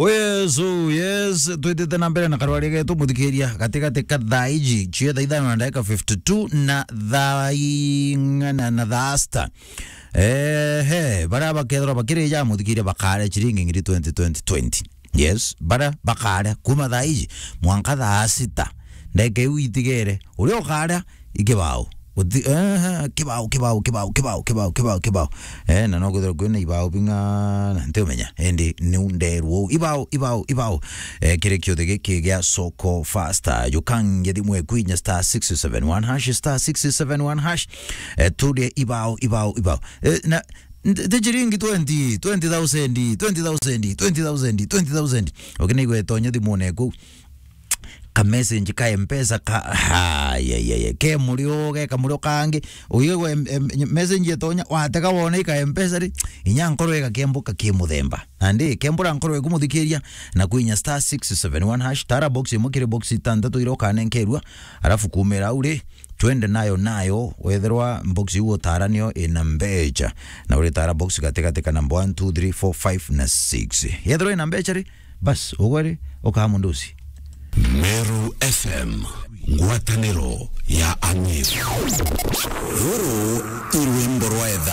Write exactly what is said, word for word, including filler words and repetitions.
Yes, oh, yes, twitite na mbere na karwari getu, muthikiria, gatigati ka thaa iji, cio thaa ithano na ndagika fifty two na thaa ing'ana na thaa sita. Ehe, baria bakethirwa bakirija muthikiria bakare chiringi ngiri twenty, twenty, twenty. Yes, baria bakare kuma thaa iji mwanka thaa sita. Ndagika iu itigere, uria ukare ikibao. Uti-, eh, kibao, kibao, kibao. Eh, na no kwithirwa kwina ibao bing'ana, ntiumenya. Indi niu nderwo uu. Ibao, ibao, ibao. Eh, kiri kiuthi giki gia Soko Faster. Jukange thimu eku inya star six seven one hash, star six seven one hash. Eh, turie ibao, ibao, ibao. Eh, na, nti chiringi twenty, twenty thousand, twenty thousand, twenty thousand, twenty thousand. Ukinaigua itonya thimune eku. Ka message ka Mpesa ka, ha, ya, ya, ya, ke murio, ge ka murio kangi, uigagwa em-, em-, message etonya, watega wona i ka Mpesa ri, inya nkoro igakembuka ki muthemba. Nandi, kembura nkoro eku muthikiria, na kwinya star six seven one hash, tara box imwe kiri box itantatu iria ukanenkerua, alafu kumira au ri, twende nayo nayo, wethirwa box iu utara nio ina mbecha, na uritara box gatigati ka namba one, two, three, four, five na six. Yethirwa ina mbecha ri, bas, ugwe ri, ukaa mundu uci. Meru F M, ngwataniro ya Ang'iri. Ruru i rwimbo rwa etha.